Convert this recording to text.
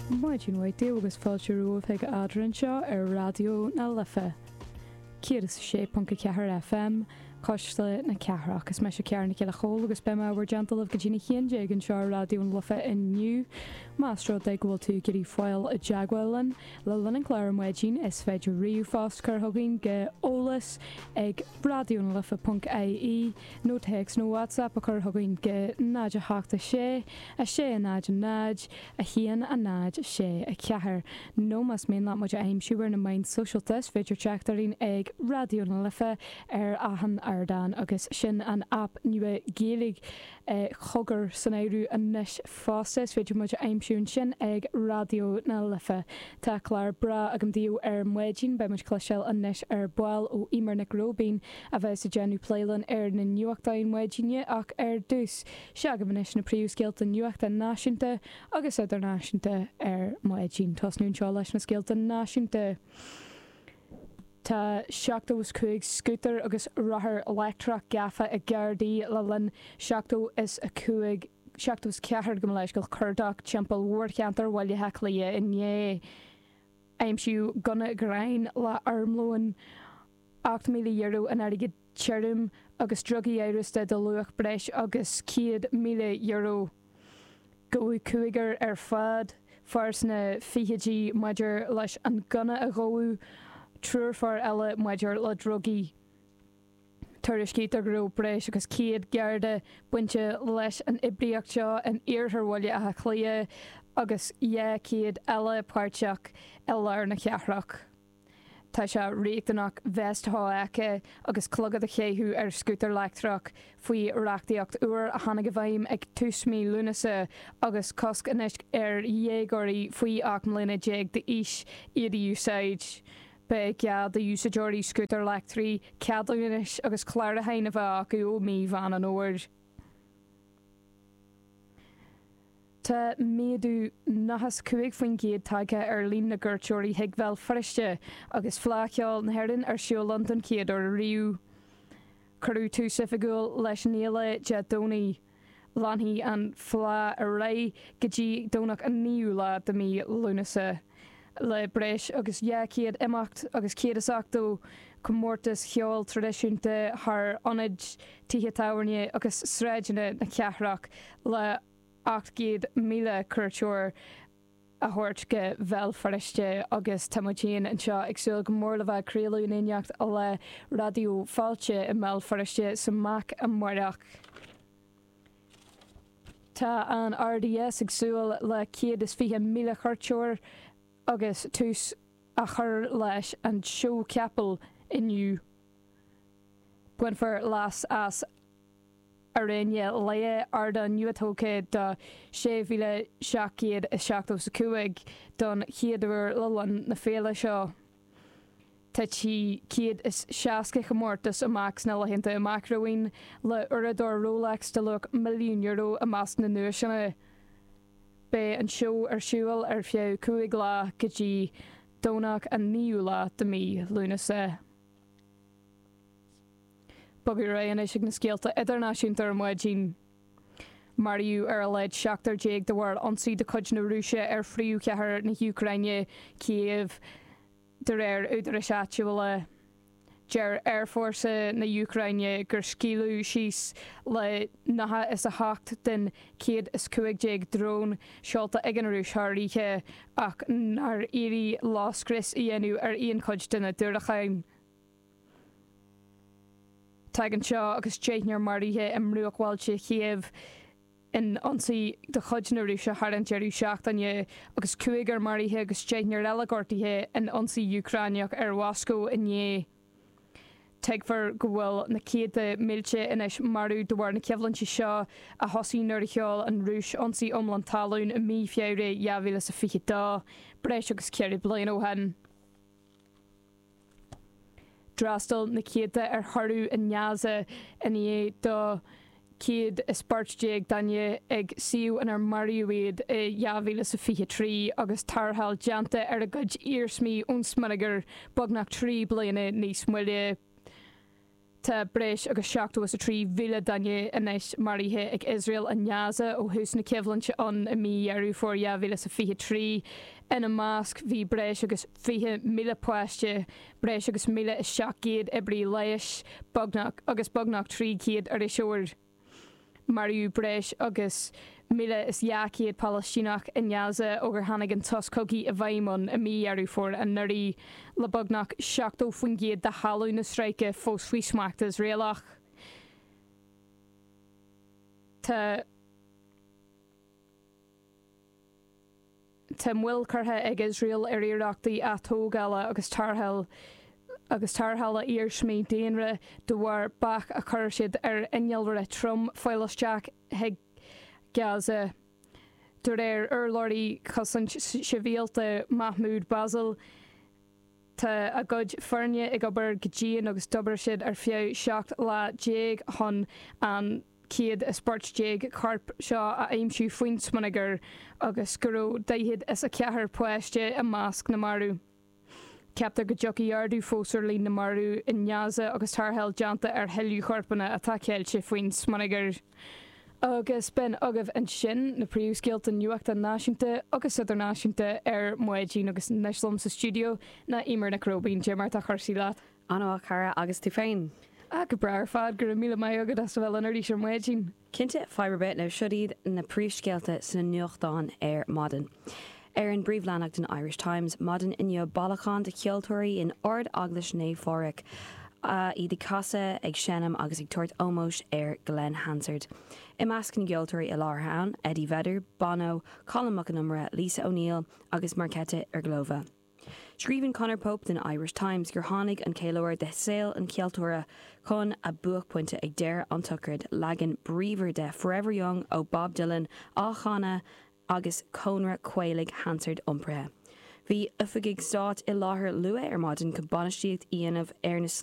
Maidin mhaith daoibh agus fáilte romhaibh chuig Eadrainn anseo ar Raidió na Life 106.4 FM, Cuisle na Cathrach. Is mise Ciara Nic Giolla Chóill agus beidh mé i bhur dteannta libh go dtí'n 11 anseo ar Raidió na Life inniu. Más rud é go bhfuil tú ag iarraidh fáil i dteagmháil linn le linn an chláir ar maidin is féidir ríomhphost cur chugainn go eolas ag raidionalife.ie nó téacs nó WhatsApp a chur chugainn go 0 8 6 6 0 0 1 0 6 4. Nó más mian leat muid a aimsiú ar na meáin sóisialta is féidir teacht orainn ag Raidió na Life ar achan ardán agus sin an aip nua Gaeilge Cogar san áireamh anois fosta. Is féidir muid a aimsiú ansin ag Raidió na Life. Tá clár breá agam daoibh ar maidin. Beidh muid cloisteáil anois ar ball ó Eimear Nic Róibín a bheas ag déanamh plé linn ar na nuachtáin maidine ach ar dtús, seo agaibh anois na príomhscéalta nuachta náisiúnta agus idirnáisiúnta ar maidin. Tosnú anseo leis na scéalta náisiúnta. Tá 75 scútar agus rothar leictreach gafa ag Gardaí le linn 75, 74 gabh mo leithscéal, cuardach timpeall mhórcheantar Bhaile Átha Cliath inné. Aimsíodh gunna gráin le armlón, €8,000 in airgead tirim agus drugaí amhrasta de luach breis agus €100,000. Gabhadh cúigear ar fad, fear sna fichidí maidir leis an ngunna a gabhadh, triúr fear eile maidir le drugaí. Tuairiscítear go raibh breis agus 100 Garda bainte leis an oibríocht seo in iarthar Bhaile Átha Cliath agus 200 eile páirteach i lár na cathrach. Tá sé riachtanach veist shofheicthe agus clogad a chaitheamh ar scútar leictreach faoi reachtaíocht úr a tháinig i bhfeidhm ag tús mí Lúnasa agus cosc anois ar dhéagóirí faoi 18 mbliana d'aois iad a úsáid. Beidh gá d'úsáideoirí scútair leictrigh ceadúnais agus clárúcháin a bheith acu ó mí Mheán an Fhómhair. Tá méadú 95% tagtha ar líon na gcuairteoirí chuig Bhéal Feirste agus Fleadh Cheoil na hÉireann ar siúl ann don chéad uair riamh. Cuireadh tús oifigiúil leis an fhéile Dé Domhnaigh. Leanfaidh an Fleadh ar aghaidh go dtí Domhnach an 9ú lá de mhí Lúnasa le breis agus 200 imeacht agus 180 comórtas cheoil traidisiúnta thar ionaid, tithe tábhairne agus sráideanna na cathrach le 800,000 cuairteoir a thabhairt go Bhéal Feirste agus tá muid féin anseo ag súil go mór le bheith ag craoladh in éineacht le Raidió Fáilte i mBéal Feirste sa MAC amárach. Tá an RDS ag súil le 120,000 cuairteoir agus tús á chur leis an seó capall inniu. Bainfear leas as Airéine Laoi, ardán nuatógtha do 6,775 don chéad uair le linn na féile seo. Titfidh 160 chomórtas amach sna laethanta amach romhainn, le uaireadóir Rolex de luach €1,000,000 i measc na nduaiseanna. Beidh an seó ar siúl ar feadh 5 lá go dtí Domhnach an 9ú lá de mhí Lúnasa. Bogadh ar aghaidh anois ag na scéalta idirnáisiúnta ar maidin. Maraíodh ar a laghad seachtar déag de bharr ionsaí de chuid na Rúise ar phríomhchathair na hÚcráine, Cív, de réir údaráis áitiúla. Deir Aerfhórsa na hÚcráine gur scaoileadh síos le 98 den 115 drón seolta ag an Rúis thar oíche ach nár éirigh leo scrios a dhéanamh ar aon chuid de na diúracáin. Tagann seo agus deichniúr maraithe i mbruachbhailte Chív in ionsaí de chuid na Rúise thar an deireadh seachtaine, agus cúigear maraithe agus deichniúr eile gortaithe in ionsaí Úcráineach ar Mhoscó inné. Tuigtear go bhfuil na céadta mílte anois marbh de bharr na coimhlinte seo a thosaigh nuair a sheol an Rúis ionsaí iomlán talún i mí Feabhra 2022, breis agus ceithre bliana ó shin. D'fhreastail na céadta ar thórramh i nGaza i ndiaidh do 114 duine ag suíomh inar maraíodh iad i 2023 agus tarrtháil déanta ar a gcuid iarsmaí ón smionagar beagnach 3 bliana níos moille. Tá breis agus 73,000 duine anois maraithe ag Iosrael i nGaza ó thús na coimhlinte ann i mí Dheireadh Fómhair 2023. Ina measc bhí breis agus 20,000 páiste, breis agus 1,700 oibrí leighis, beagnach agus beagnach 300 iriseoir. Maraíodh breis agus 1,200 Palaistíneach i nGaza ó gur tháinig an sos cogaidh i bhfeidhm ann i mí Dheireadh Fómhair anuraidh, le beagnach 70% de thalamh na Stráice fós faoi smacht Iosraelach. Tá. Tá moill curtha ag Iosrael ar iarrachtaí atógála agus tarrtháil agus tarrthála iarsmaí daonra de bharr bac a chuir siad ar innealra trom fáil isteach chuig Gaza. De réir urlabhraí Chosaint Shibhialta Mahmoud Bassal, tá a gcuid foirne ag obair go dian agus d'obair siad ar feadh 17 lá chun an 114 corp seo a aimsiú faoin smionagar agus go raibh 44 páiste i measc na marbh. Ceaptar go dtiocfaidh ardú fós ar líon na marbh i nGaza agus tarrtháil déanta ar thuilleadh corpanna atá ceilte faoin smionagar. Agus b'in agaibh ansin na príomhscéalta nuachta náisiúnta agus idirnáisiúnta ar maidin agus anois liom sa stiúideo ná Eimear Nic Róibín. Cad é mar tá cúrsaí leat? An-mhaith, cara, agus tú féin? Ah, go breá ar fad, go raibh míle maith agat as a bheith linn arís ar maidin. Cinnte, fadhb ar bith. Now, siod iad na príomhscéalta sna nuachtáin ar maidin. Ar an bpríomhleathanach den Irish Times maidin inniu, bailiúchán de cheoltóirí in Ard-Eaglais Naomh Phádraig, iad ag casadh, ag seinm agus ag tabhairt ómóis ar Glen Hansard. I measc na gceoltóirí i láthair ann, Eddie Vedder, Bono, Colm Mac Con Iomaire, Lisa O'Neill agus Marketa Irglova. Scríobhann Conor Pope den Irish Times gur tháinig an ceiliúradh de shaol an cheoltóra chun a buaicphointe ag deireadh an tsochraid, leagan bríomhar de Forever Young ó Bob Dylan á chanadh agus cónra caolaigh Hansard iompraithe. Bhí oifigigh stáit i láthair luath ar maidin chun bainistíocht a dhéanamh ar na.